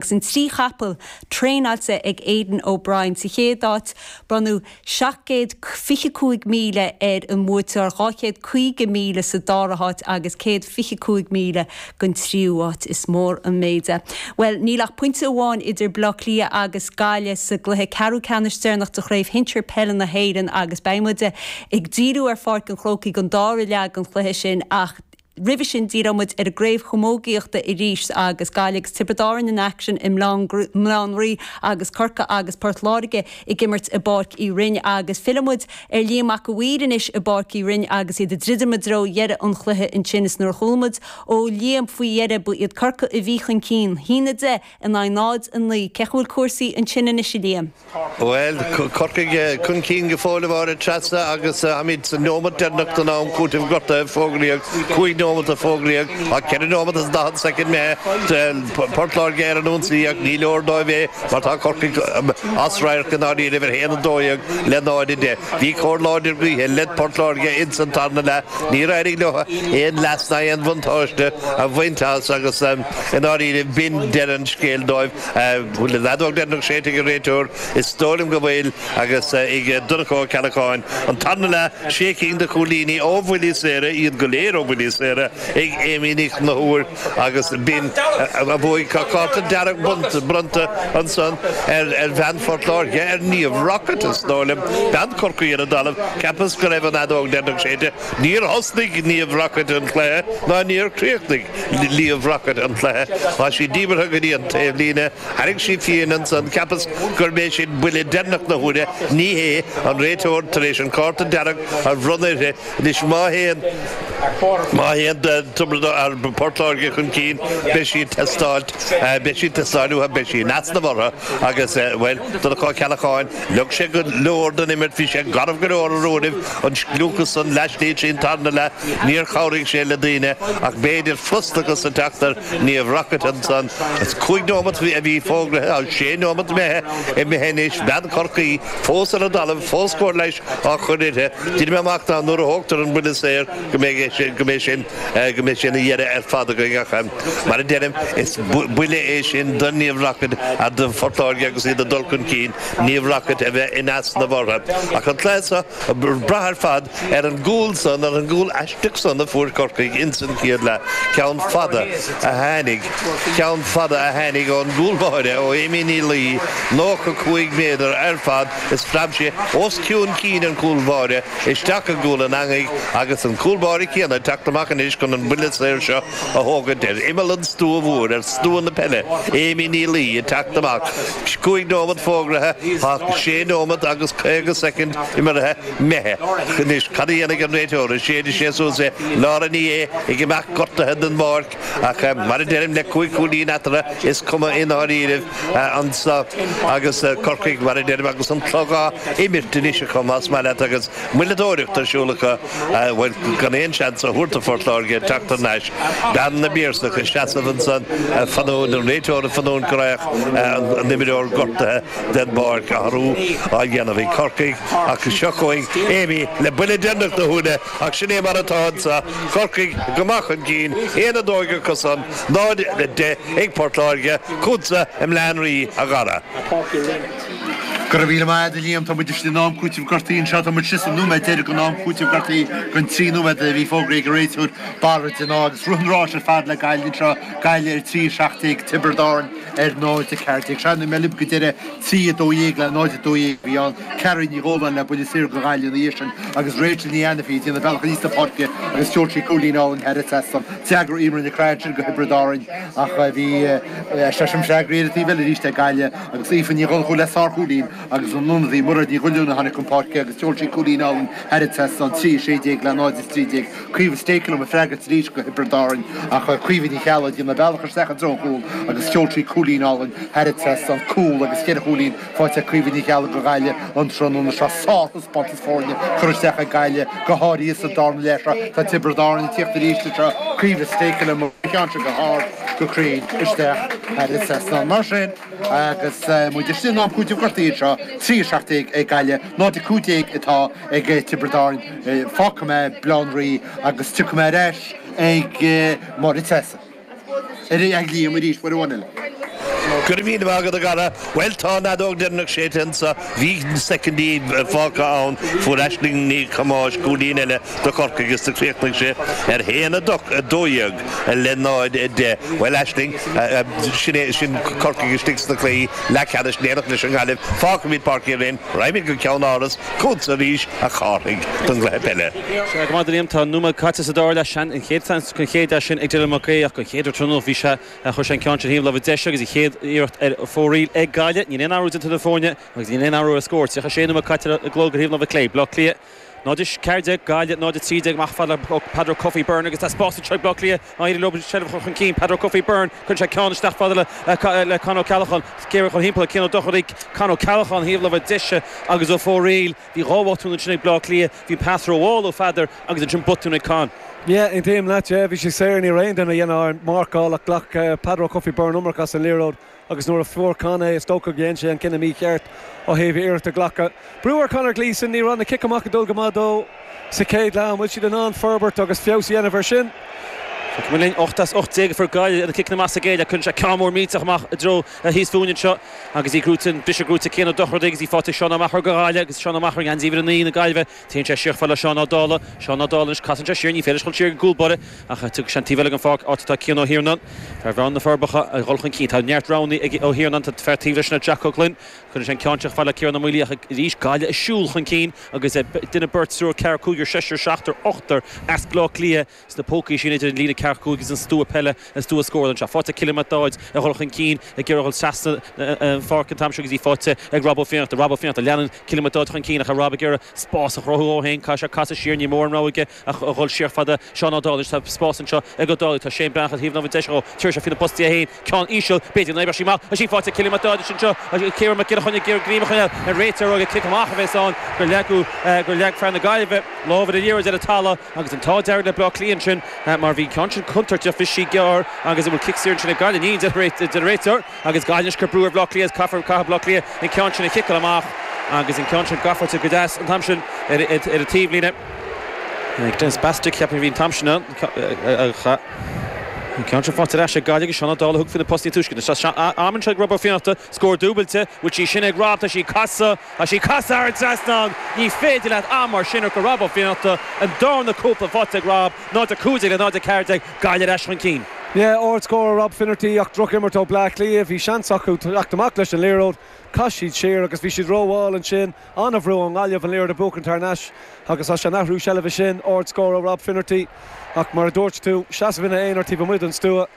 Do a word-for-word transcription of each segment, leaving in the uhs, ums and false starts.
Agus an trí chapall traenáilte ag Aidan O'Brien sa chéad áit bronnadh seacht gcéad fiche cúig míle ar an mbuaiteoir, dhá chéad caoga míle sa dara háit agus céad fiche cúig míle don tríú háit. Is mór an méid é. Bhuel, níl ach pointe amháin idir Baile Átha Cliath agus Gaillimh sa gcluiche ceathrú ceannais deireanach de Chraobh Shinsir Peile na hÉireann agus beidh muid ag díriú ar Pháirc an Chrócaigh don dara leath den chluiche sin ach roimhe sin díreoidh muid ar an gcraobh chamógaíochta arís agus Gaillimh agus Tiobraid Árann in aicsean i mBaile Átha an Rí agus Corcaigh agus Port Láirge ag imirt i bPáirc Uí Rinn agus fillfidh muid ar Liam Mac a' Mhaoir anois i bPáirc Uí Rinn agus iad ag druidim i dtreo dheireadh an chluiche ansin is nuair a chuala muid ó Liam faoi dheireadh ba iad Corcaigh a bhí chun cinn, a haon a deich in aghaidh náid a naoi. Cén chaoi a bhfuil cúrsaí ansin anois a Liam? Bhuel, Corcaigh chun cinn go fóill a Mháire Treasa agus táimid sa neomat deireanach den am cúitimh gortaithe, fógraíodh cúig nóimeat a fógraíodh ach ceithre nóimeat is daichead soicind imithe. Port Láirge ar an ionsaí ach ní leor dóibh é mar tá Corcaigh as radharc i ndáiríribh ar haon a dó dhéag le náid a deich. Bhí cóir láidir gaoithe le Port Láirge ins an tarna leath. Níor éirigh leo aon leas ná aon bhuntáiste a bhaint as agus i ndáiríribh b'in deireadh an scéil dóibh. Bhfuil an fheadóg deireanach séidte ag an réiteoir? Is dóigh liom go bhfuil agus ag Donncha Ó Ceallacháin. An tarna leath, sé cinn de chúilíní ó bhuillí saora, iad go léir ó bhuillí saora, ag Amy Ní Chonchúir agus b'in a bhuaigh. Tá cárta dearg bronnta ansan ar bhean Phort Láirge, ar Niamh Rockett, is dóigh liom. Bean Chorcaí ar an dtalamh. Cheapas go raibh an fheadóg deireanach séidte. Níor thosnaigh Niamh Rockett an cluiche ná níor chríochnaigh Niamh Rockett an cluiche. Tá sí díbeartha go dtí an taobhlíne. Tharraing sí fiain ansan. Cheapas gurb é sin buille deireanach na huaire. Ní hé. An réiteoir tar éis an cárta dearg a bhronnadh uirthi. Anois má théann, má théann Tiobraid Árann, Port Láirge chun cinn, beidh sí ag teastáil, beidh sí ag teastáil uathu, beidh sí in easnamh orthu agus, bhuel, Donncha Ó Ceallacháin, leag sé go leor den imirt, bhí sé garbh go leor ar uairibh, an scliúchas san laistigh trín tarna leath, níor chabhraigh sé le daoine ach b'fhéidir frustrachas ag teacht ar Niamh Rockett ansan. Is cúig nóimeat a bhí fógraithe, sé nóimeat imithe, imithe anois, bean Chorcaí fós ar an dtalamh, fós cóir leighis á chur uirthi. Déanfaidh mé amach ná nuair a thógtar an buille saor go mbeidh sé, go mbeidh sin, go mbeidh sé ina dheireadh ar fad againn ach mar a deirim, is buille é sin do Niamh Rockett a do Phort Láirge agus iad ag dul chun cinn, Niamh Rockett a bheith in easnamh orthu. Ach an cluiche seo ag brath ar fad ar an gcúl san, ar an gcúl aisteach san a fuair Corcaigh ins an chéad leath, ceann fada a tháinig, ceann fada a tháinig ón gcúl báire, ó Amy Ní Laoi, nócha cúig méadar ar fad is phreab sé os cionn cinn an chúl báire isteach i gcúl an eangaigh agus an cúl báire céanna ag teacht amach anois chun an buille saor seo a thógaint ar imeall an stua mhóir, ar stua na peile, Amy Ní Laoi ag teacht amach. Cúig nóimeat fógraithe, tá sé nóimeat agus caoga soicind imeartha imithe. Anois, cad a dhéanfaidh an réiteoir? An séidfidh sé suas é? Laura Ní Aodha ag imeacht gortaithe den bpáirc ach, mar a deirim, le cúig chúilín eatarthu, is cuma i ndáiríribh anso agus Corcaigh, mar a deirim, agus an clog á imirt anois acu, más maith leat, agus moilleadóireacht ar siúl acu, bhuel, gan aon seans a thabhairt do Phort Láirge teacht thar n-ais. Bean na bPiarsach ag seasamh ansan, ag fanúint, an réiteoir ag fanúint go raghadh an imreoir gortaithe den bpáirc, athrú á dhéanamh ag Corcaigh ach seo chugainn Amy le buille deireanach na huaire ach sin é mar atá anso, Corcaigh go maith chun cinn, aon a dó acusan, náid a deich ag Port Láirge, chugatsa i mBleá an Rí, a Dhara. Go raibh míle maith agat, a Liam. Tá muid istigh in am cúitimh gortaithe anseo. Tá muid istigh sa nóiméad deiridh den am cúitimh gortaithe den trí nóiméad a bhí fógraithe ag an réiteoir Barra de ghnáth agus rith an ráis ar fad le Gaillimh anseo, Gaillimh ar trí a seacht déag, Tiobraid Árann ar náid a ceathair déag. Sea, mé libh go deireadh trí a dó dhéag le náid a dó dhéag a bhí ann. Ceara Ní Dhóláin le buille saor do Ghaillimh ina dhiaidh sin agus Rachel Ní Ainifí ag déanamh bealach aníos na páirce agus sheol sí cúilín álainn thar an trasnán. D'fhreagair Eimear Nic Craith ansin do Thiobraid Árann ach bhí seisean freagraí ar an taobh eile arís ag Gaillimh agus Aoife Ní Dhonnchú le sárchúilín agus an ionadaí Mairéad Ní Dhuibhleann a tháinig chun páirce agus sheol sí cúilín álainn thar an trasnán, trí a sé déag le náid a trí déag. Caoimhe Stakelum ag freagairt arís do Thiobraid Árann ach Caoimhe Ní Cheallaigh ag déanamh bealach isteach i dtreo an chúil agus sheol sí cúilín álainn thar an trasnán, cúl agus ceithre chúilín faighte ag Caoimhe Ní Cheallaigh do Ghaillimh an tráthnóna seo. Sárthaispeántas foirne curtha isteach ag Gaillimh, go háirithe sa darna leath seo. Tá Tiobraid Árann ag tíocht arís anseo, Caoimhe Stakelum an ceann seo go hard, go cruinn isteach thar an trasnán. Mar sin, agus muid istigh in am cúitimh gortaithe anseo, trí a seacht déag ag Gaillimh, náid a cúig déag atá ag Tiobraid Árann. Fágfaidh mé Baile Átha an Rí agus tiocfaidh mé ar ais ag Máire Treasa. Ar ais ag Liam arís, uair amháin eile. Go raibh míle maith agat a Dhara. Well tá an fheadóg dheireanach séidte anseo bhí soicindí fágtha ann fuair Aisling Ní Chamáis cúilín eile do Chorcaigh agus do chríochnaigh sé ar haon a dó dhéag le náid a deich. Well Aisling sin é sin Corcaigh istigh sna cluichí leathcheannais in éineacht leis an nGaillimh. Fágfaimid Páirc Uí Rinn, raghaimid go Ceann Áras chugatsa arís a Chárthaigh don gcluiche peile. Sea go maith a Liam tá nóiméad caite sa dara leath an chéad an chéad sin ag Dylan Mac Aodha ach an chéad tráthnóna bhí sé chuir sé an ceann sin thaobh láimhe deise agus an chéad iarracht ar fóraoil ag Gaillimh níl aon athrú déanta na foirne agus níl aon athrú ar scór tríocha sé nóiméad caite i gclog ar thaobh láimhe clé Bleá Cliath Náid ceathair déag Gaillimh náid trí déag amach fad le Peadar Coffey Byrne agus tá spás anseo ag Bleá Cliath má éiríonn leo seilbh chun cinn Peadar Coffey Byrne chun sé ceann isteach fad le le Con Ó Ceallacháin géar chun timpeall Cian Ó Dochartaigh Con Ó Ceallacháin thaobh láimhe deise agus ó fóraoil bhí dhá bhotún ansin ag Bleá Cliath bhí pas rómhall ó Pheadar agus ansin botún ag Con. Yeah, aontaím leat yeah, bhí sé saor ní raibh aon duine a dhéanamh marcáil ach ghlac Peadar Coffey Byrne iomarca as an liathróid agus nuair a fuair Con é is dócha go dhein sé an cinneadh mícheart ó thaobh iarracht a ghlacadh. Brú ar Conor Gleeson ní raibh na cic amach ag dul go maith dó sa chéad leath bhfuil siad in ann forbairt agus feabhas a dhéanamh ar sin. linn ocht as ocht déag a fuair Gaillimh na ciceanna amach sa gcéile chun sé ceann mór millteach amach i dtreo thíos fúinn anseo agus í gnóthaithe briseadh gnóthaithe Cian Ó Dochartaigh agus í faighte Seán Ó Meachair go Gaillimh agus Seán Ó Meachair gan díobh naoi na Gaillimhe téann sé siar le Seán Ó Dála Seán Ó Dála anois casann sé siar ní féidir chun siar go gúlbáire ach tug sé an taobh eile den pháirc áit atá Cian Ó hIarnáin fear bhreán na Forbacha a dhul chun cinn tá neart roghanna ag Ó hIarnáin tá fear taobh leis na Jack Ó Gloinn chun sé an ceann seo fad le Ciarán Ó Maolaí ach arís Gaillimh ag siúl chun cinn agus duine beirt triúr ceathair cúigear seisear seachtar ochtar as Bleá Cliath sna pócaí sin idir an líne ceathair cúig agus an stua peile an stua scór anseo. Faighte Cillian Mac Dáid a dhul chun cinn ag iarraidh trasna an pháirc an t-am seo agus í faighte ag Rob Ó Fiannachta Rob Ó Fiannachta leanann Cillian Mac Dáid chun cinn ach Rob ag iarraidh spás a chruthú dó féin caithfidh sé casadh siar ní mór an rogha ach a dhul siar fada Seán Ó Dálaigh tá spás anseo ag Ó Dálaigh tá Shane Breathnach thaobh láimhe deise dhó tir sé faoi na postaí a haon ceann íseal b'fhéidir ná sí maith sí faighte Cillian Mac Dáid sin seo Ciarán Mac Giolla Chainnigh Gríma chun an réiteoir ag cic amach a bheas ann gur leagadh gur leag fear na Gaillimhe lámh ar an liathróid ar an talamh agus an t-ádh dearg le Bleá Cliath sin mar bhí ceann sin contúirteach bhí sí gearr agus an bhfuil cic saor sin ag Gaillimh ní de réiteoir agus Gaillimh cur brú ar Bleá Cliath caithfear caithfidh Bleá Cliath an ceann sin a chiceáil amach agus an ceann sin gafa go deas an t-am sin ar ar an taobhlíne. Dennis Bastick ceapaim bhí an t-am sin an ceann sin faighte ar ais ag Gaillimh agus Seán Ó Dálaigh thug faoi na postaí túisce. Am seo ag Rob Ó Fiannachta scór dúbailte, bhfuil sí sin ag Rob tá sí casadh tá sí casadh ar an trasnán ní féidir leat am mar sin go Rob Ó Fiannachta an darna cúpla faighte ag Rob náid a cúig déag le náid a ceathair déag Gaillimh ar ais chun cinn. Yeah, ardscór Rob Finnerty ach drochimirt ó Bleá Cliath bhí seans acu teacht amach leis an liathróid Chaith siad siar agus bhí siad rómhall ansin an-bhrú ón nGaillimh an liathróid a bhuachan thar n-ais agus as an athrú seilbhe sin ardscór ó Rob Finnerty ach mar a dúirt tú seasamh ina aonar taobh amuigh den stua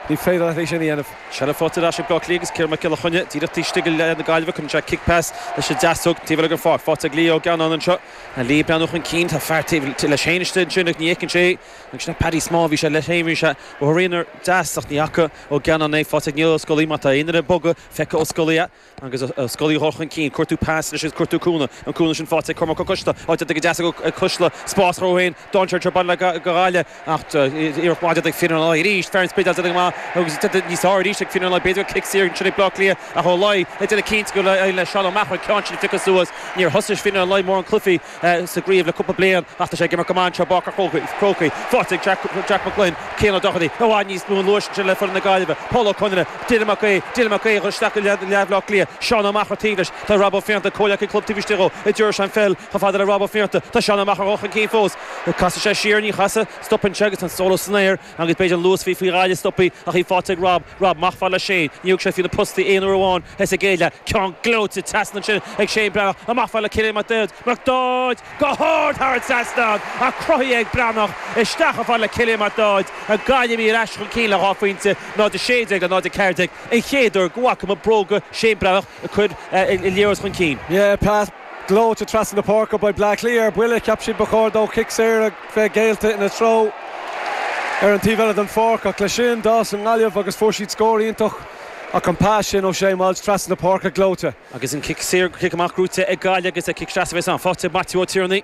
ní féidir leat é sin a dhéanamh. Seilbh faighte ar ais ag Bleá Cliath agus Ciarán Mac Giolla Chainnigh díreach taobh istigh le na Gaillimhe chun sé kick pass leis an deasóg taobh eile den pháirc faighte ag Leo Gannon anseo a Lee breathnú chun cinn tá fear taobh leis féin istigh ansin ach ní fheiceann sé agus sin Paddy Small bhí sé leis féin bhí sé ó tharaonar deas ach ní fhaca Ó Gannon é faighte ag Niall Ó Scolaí má tá aon duine bogadh feicthe Ó Scolaí agus Ó Scolaí dhul chun cinn cuartú pas leis cuartú cúnamh an cúnamh sin faighte ag Cormac Ó Coisle áit go deas ag Cuisle spás dó féin dainséar baile go Gaillimh ach iarracht mhaith ag Fionn Ó arís fear an Spidéil déanamh maith agus níos fearr arís ag Fionn Ó b'fhéidir cic saor sin ag Bleá Cliath ach Ó Laoi ag déanamh cinnte go le Seán Ó Meachair ceann sin phiocadh suas níor thosaigh Fionn Ó Laoi mór an cluichí sa gcraobh le cúpla bliain ach tá sé ag imirt go maith anseo i bPáirc an Chrócaigh faighte ag Jack Jack McGlynn Cian Ó Dochartaigh i bhfad níos mó an luais sin le foireann na Gaillimhe Paul Ó Conaire Dylan Mac Aodha Dylan Mac Aodha isteach go leath Bleá Cliath Seán Ó Meachair taobh leis tá Rob Ó Fiannachta comhleacaí club taobh istigh dhó i dúir an pheil chomh fada le Rob Ó Fiannachta tá Seán Ó Meachair chun cinn fós casadh sé siar ní chasadh stopann sé agus an solo san aer agus b'fhéidir an luas bhí faoi Ghaillimh stopaí ach í faighte ag Rob Rob amach fad le Shane ní thug sé faoi na postaí aon uair amháin is ag géile ceann gleoite trasna ansin ag Shane Breathnach amach fad le Cillian Mac Dáid Mac Dáid go hard thar an trasnán a cruthaithe ag Breathnach isteach a fad le Cillian Mac Dáid a Gaillimh ar ais chun cinn le dhá phointe náid a sé déag le náid a ceathair déag an chéad uair go bhfaca muid bróga Shane Breathnach a chur liathróid chun cinn. Yeah, pas gleoite trasna na páirce by Bleá Cliath ar buile cheap siad ba chóir dó cic saor a bheith géillte ina treo ar an taobh eile den pháirc ach leis sin d'fhás an Ghaillimh agus fuair siad scór iontach ach an pas sin ó Shane Walsh trasna na páirce gleoite. Agus an cic saor cic amach gnóthaithe ag Gaillimh agus a cic seasamh an faighte Matthew Ó Tiarnaigh.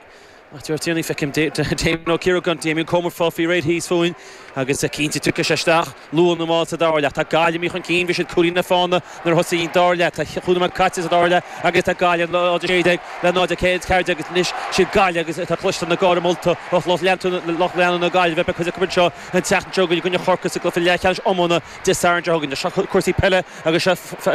Ach deir Tierney feicim Damien Ó Ciaragáin Damien Comer fá faoi réir thíos fúinn agus cinnte tiocfaidh sé isteach luath nó mall sa dara leath. Tá Gaillimh chun cinn bhí siad cúilín le fána nuair a thosaigh an dara leath. Tá chúig nóiméad caite sa dara leath agus tá Gaillimh náid a sé déag le náid a ceathair déag agus anois siad Gaillimh agus tá cloiste na gáire molta ó lucht leanúna na Gaillimhe beidh cuid acu anseo an tseachtain seo chugainn i gcoinne Chorcaí sa gcluiche leathcheannais iomána Dé Sathairn seo chugainn. Seo cúrsaí peile agus seo